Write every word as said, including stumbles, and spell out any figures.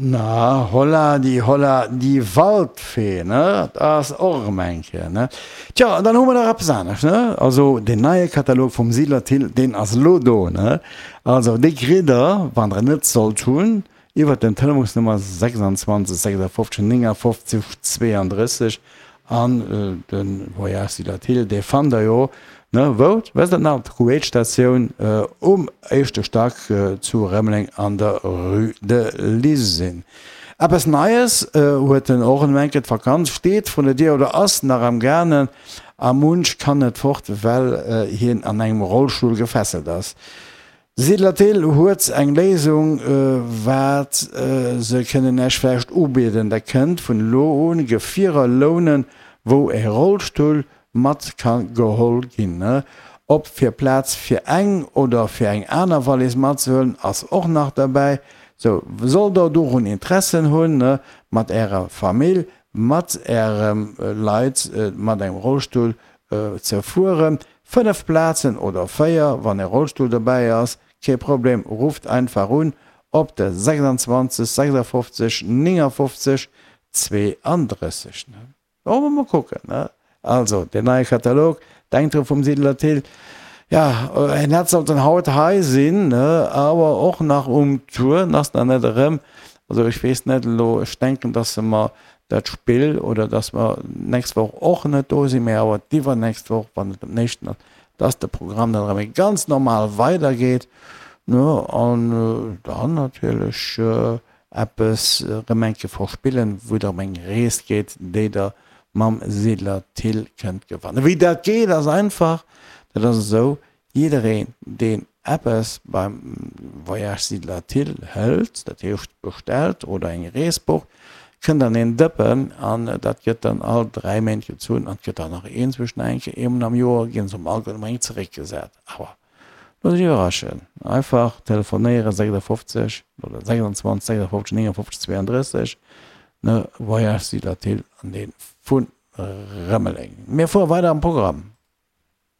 Na, holla die holla die Waldfee, ne? Dat ass och erëm eng Kéier, ne? Tja, an dann hu mer nach eppes anescht, ne? Also deen neie Katalog vum Siedler Thill, deen ass elo do, ne? Also dee kritt der, wann der en net sollt hunn, iwwert den Telefonsnummer sechsundzwanzeg sechsundfünfzig neunundfünfzig zweiunddrësseg. An de Voyage Siedler Thill, dee fannt der jo, ne, wou? Wësst der et nach? Op der Kuwait-Statioun um éischte Stack zu Rëmeleng an der Rue de l'Usine. Eppes Neies huet en och en Enke, d'Vakanz steet vrun der Dier oder ass nach am gaangen a munch kann net fort, well hien an engem Rollstull gefesselt ass. Siedler Thill huet eng Léisung, wat se kënnen Iech vläicht ubieden. Der kënnt vun elo un Gefierer lounen, wou e Rollstull mat ka geholl ginn. Ob fir Plaz fir eng oder fir eng aner Wallis matzehuelen, ass och nach derbäi. Sou, sollt der dorun Interessen hunn, mat Ärer Famill, mat Ärem Leit mat engem Rollstull ze fueren, fënnef Plazen oder véier, wann e Rollstull dobäi ass, kee Problem, rufft einfach un op de sechsundzwanzeg sechsundfünfzig neunundfünfzig zweiunddrësseg. Wollen mer mol kucken, ne? Also, den neie Katalog, denkt dru vum Siedler Thill. Ja, en hätt sollten haut hei sinn, ne? Awer och nach um Tour, en ass nach net erëm. Also ech weess net elo, ech denken, dass se mer dat Spill oder dass mer d'nächst Woch och net do sinn, mä awer d'iwwernächst Woch, wann et um éischten ass, dass de Programm dann erëm ganz normal weidergeet, ne? An dann natierlech eppes erëm eng Kéier verspillen, wou et erëm eng Rees geet, déi Der mam Siedler Thill kënnt gewannen. Wéi dat geet, ass einfach, dat ass esou, Jiddereen, deen eppes beim Voyage Siedler Thill hëlt, dat heescht bestellt oder eng Rees bucht, kënnt an een Dëppen an dat gëtt dann all dräi Méint gezunn an et gëtt dann nach een zwëschen eng Kéier, eemol am Joer ginn se um alleguerten eng zeréckgesat. Awer looss iech iwwerraschen, einfach telefonéieren, sechsundfünfzig oder sechsundzwanzig sechsundfünfzig neunundfünfzig zweiunddrësseg, ne, Voyage Siedler Thill an dee vu Rëmeleng. Mir fuere weider am Programm.